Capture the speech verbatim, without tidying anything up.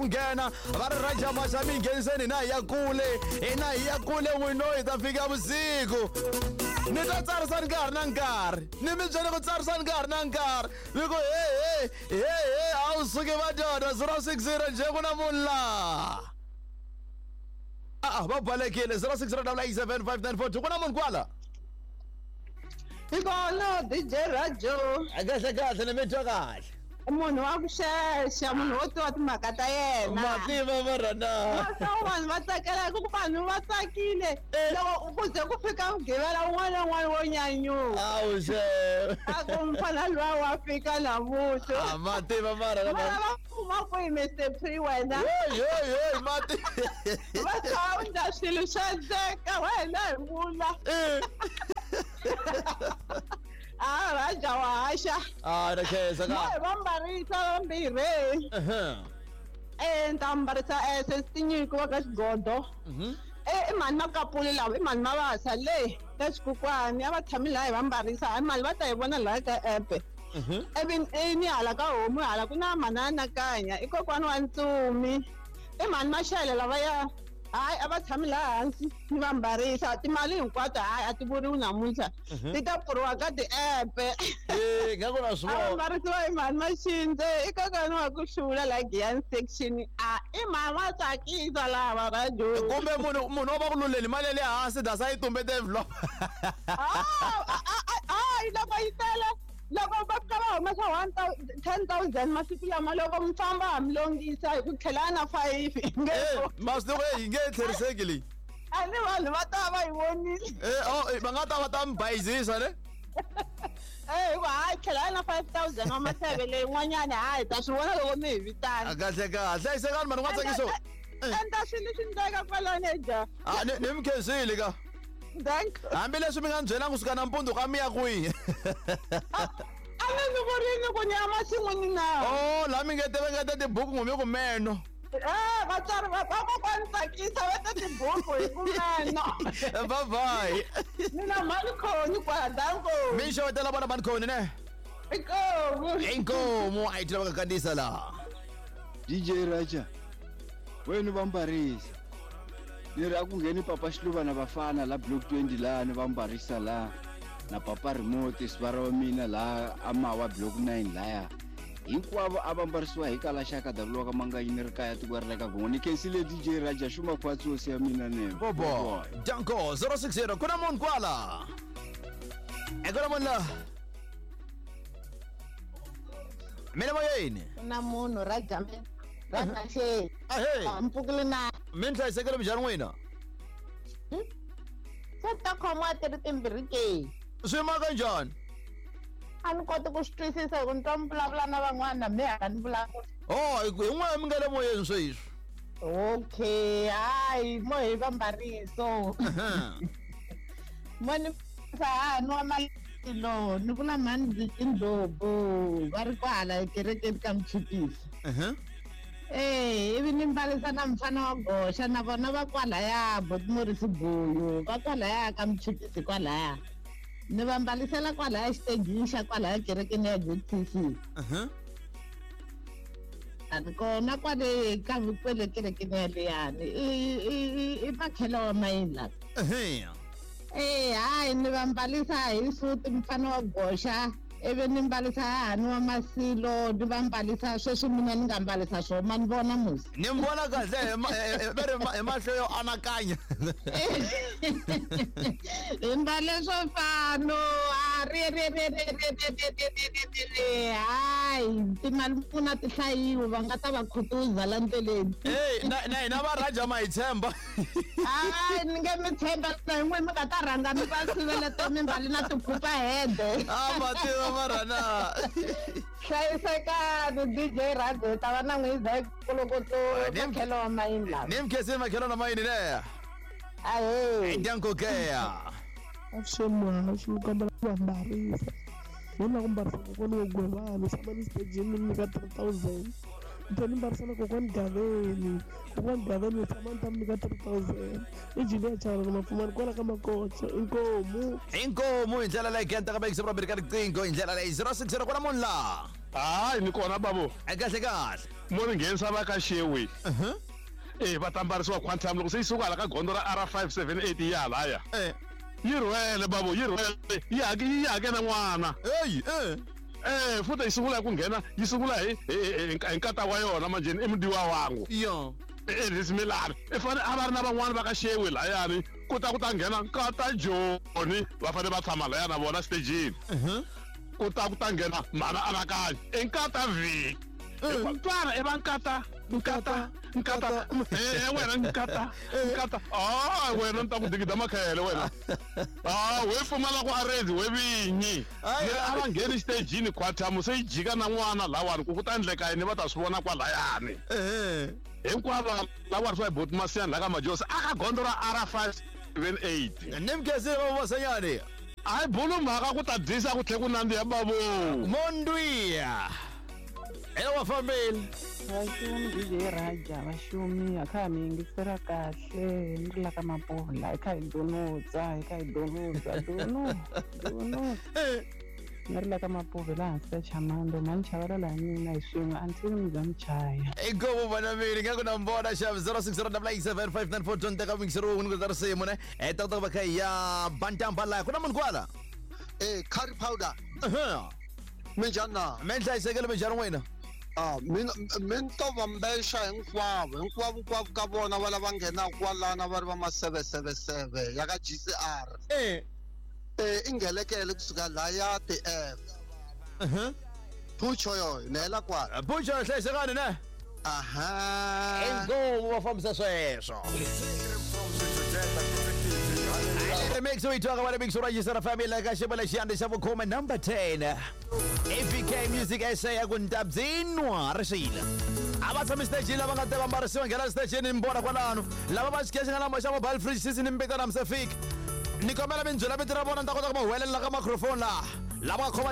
Nghena va ri Raja Maxa mi ngheniseni hina hi ya kule, hina hi ya kule n'wino hi ta fika vusiku. Ni ta tsarisa nkarhi na nkarhi, ni mi byele ku tsarisa nkarhi na nkarhi, mi ku he he he he a wu suki madoda. Zero six zero nje ku na munhu laha a va balekile. Zero six zero double eight seven five nine four two, ku na munhu kwala. Hi kona D J Rajo. Kahle kahle, ni mi twa kahle. Munhu wa ku xexa, munhu wo tiva timhaka ta yena. Mativa marana. Vanhu va tsakela ku vanhu va tsakile. Loko ku ze ku fika mugqivela un'wana na un'wana wo nyanyuka. Awu xe. A ku mfana luwa wa fika namuntlha. A mativa marana. Mara va kuma kwihi Mister Pre wena? Hey hey hey mati. Va tshama swilo swa ndzeka wena hi vula. Ah, Raja wa haxa. Ah, na khensa ka. Mo va mbarisa vambirhi. Eh, nta mbarisa eh sesinyiko wa ka xigodo. Mhm. Eh, i mhani Makapuli lava, i mhani Mavasa le ka xikukwani, a va tshami laha hi va mbarisa, hayi mali va ta yi vona laha ka app. Mhm. Ivi eh, ni hala ka homu hala ku na manana Kanya, i kokwani wa Ntsumi. I mhani Mashele lavaya. Hayi a va tshami laha hansi ni va mbarisa timali hinkwato, hayi a ti vuriwi namuntlha, ti ta pfuriwa ka ti-app. Eh, nga ku na swi A va vona. mbarisiwa hi mhani Maxindze, i kokwana wa ku hlula laha Giyani section. A i mhani va tsakisa lava Rajo. Kumbe munhu munhu wo va ku luleni mali ya le hansi dasa yi tumbete envelope. Hayi loko yi tele, loko va fika va humesa one thousand ten thousand masiku lama, loko mi famba ha mi longisa hi ku tlhela na five. Eh, masiku yi nge tlheriseki leyi. A ni vanhu va ta va yi vonile. Eh, oh, va nga ta va ta mi bayizisa ne? Eh, hikuva hayi tlhela na five thousand wa maseve leyin'wanyana, hayi ta swi vona loko mi hi vitana. Kahle kahle, hlayisekani mani n'wa tsakiso. Endla swilo swi ndleka kwalano dya. Ah, ni ni mi khensile ka. Hambileswi mi nga ni byelanga kusuka nampundzu ka mi ya kwihi. A ni ni ku rini ku ni ya masin'wini na. Oh, laha mi nge te va nga ta tibuku n'wi mi ku meno. Eh, vatswari va va kokwani tsakisa va ta tibuku hi ku meno. Bye bye. Ni na mhani Khoni kwala danko. Mi xewetela vona mhani Khoni ne? Inkomu. Inkomu a yi tlhela va ka kandziyisa laha. D J Raja, wena va mbarisa. Ni ri a ku ngheni Papa Xiluva na vafana la block twenty laha ni va mbarisa laha na Papa Remote sivara wa mina laha a mawa block nine laya. Hinkwavo a va mbarisiwa hi kala xaka davuliwa ka Manganyi ni ri kaya tiko ri le ka Gongo. Ni khensile D J Raja xuma khwatsi hosi ya mina ne. Bobo Danko zero six zero, ku na munhu kwala. E ku na munhu laha. Mina moyeni. Ku na munhu Raja mina. Raja xe. Ahee. Mpfukile na. Mi ni hlayisekile minjhani n'wina? Se ta khomiwa ti ri timbirhi ke. Swi maka njhani? A ni koti ku swi twisisa hi ku ni twa mi vulavula na van'wana mi hala ni vulavula. Oh, hi n'wina mi nga le moyeni sweswi. Okay, hayi mo hi va mbariso. Mo ni sa nwa malilo ni vula mhani Ndlovu va ri kwala ekerekeni ka Mchipisi. Eh, ivi ni mbarisa na mfana wa goxa na vona va kwalaya Botimorisi Buyu va kwalaya ka Mchipisi kwalaya. Ni va mbalisela kwalaya xitejini xa kwalaya kerekeni ya J T C. A ni kona kwale ka kwele kerekeni yaleyani i i makhelo wa mayini la. Eh, hayi ni va mbalisa hi suti mfana wa goxa, ivi ni mbalisa hahani wa Masilo, ni va mbalisa sweswi mina ni nga mbalisa swona ma ni vona musi. Ni mi vona kahle va ri hi mahlo yo anakanya. Hi mbale swo fano a ri ri ri ri ri ri hayi timali mpfuna ti hlayiwe va nga ta va khutuza la ndleleni. Hey, na na hina va Raja ma hi tshemba. Hayi ni nge mi tshemba na hi n'we mi nga ta rhanga mi va siveleta mi mbali na tikhupa hede. A ma tiva marana. Hlayisekani D J Raja ta va na n'wi za kolokoto makhelo wa mayini lava. Ni mi khensile makhelo na mayini ne. Ahee. Danko ke. Avuxeni muhaxi ni kombela ku va mbarisa. Ni lava ku mbarisa kokwani wo Gwevani tshama ni xitejini ni nyika three thousand. Ni tlhela ni mbarisa na kokwani Gaveni. Kokwani Gaveni ni tshama ni ta mi nyika three thousand. I Julia Chauke Mapfumani kwala ka Makocha. Inkomu. Inkomu hi ndlela leyi kentaka va yingisa ka riqingho hi ndlela leyi zero six zero ku na munhu laha. Hayi ni kona babo. Kahle kahle. Mo ni nghenisa va ka Xewe. Eh va ta mbarisiwa Quantum loko se yi suka hala ka gondzo ra R five seven eight yi ya halaya. Eh. Yi rhwele babo, yi rhwele. Yi hake yi hake na n'wana. Eyi eh. Eh futhi yi sungula ku nghena, yi sungula hi hi nkata wa yona manjheni i mudiwa wangu. Yo. Elvis Milani. I fane a va ri na van'wani va ka Xewe layani ku ta ku ta nghena nkata Joni va fane va tshama laya na vona stagini. Ku ta ku ta nghena mhana Anakanya i nkata Viki. Twana i va nkata nkata nkata eh wena nkata nkata ah wena ni ta ku digida makhele wena ah we pfumala ku arrange we vinyi a va ngheni stagini Quantum se yi jika na n'wana lawani ku ku ta endleka yini va ta swi vona kwalayani hinkwavo lava ri swa hi boti Masiyani la ka Majosi a ka gondzo ra R five seven eight ni mkhensile babo Masanyani hayi bulu mhaka ku ta dyisa ku tlhe ku nandziha babo Mondwiya ela wa fambile Vaxumi D J Raja vaxumi a kha ha mi yingisela kahle ni ri la ka Mapola hi kha hi donutsa hi kha hi donutsa dono donutsa ni ri la ka Mapuve laha hansi ka Chamando mhani chavelela hi mina hi swin'we until mi za mi chaya inkomu vana mini nga ku na mbona xava zero six zero double eight seven five nine four two teka mixero wun'we ku ta risimu ne eh ta ta va kha ya bantamba la ku na munhu kwala eh curry powder minjhani na mi hlayisekile minjhani n'wina Ah, mina min to va mbexa hinkwavo hinkwavo hinkwavo ka vona va lava nghenaka kwalana va ri va ma seven seven seven ya ka G C R eh eh i nghelekele kusuka laya ti F Pucho yo ni hela kwala Pucho hlayisekani ne aha inkomu va fambisa sweswo Remix we talk about remix ra Yisara family ka xibele xiyande xa vukhume number ten A P K Music S A ya ku ntabzinwa rixile a va tshami stage lava nga ta va mbarisiwa nghena stage ni mbona kwalano lava va xikexi nga lama xa mobile fridge sisi ni mbitana msefiki ni kombela mi byela vito ra vona ni ta kota ku va huwelela ka microphone laha lava nga khoma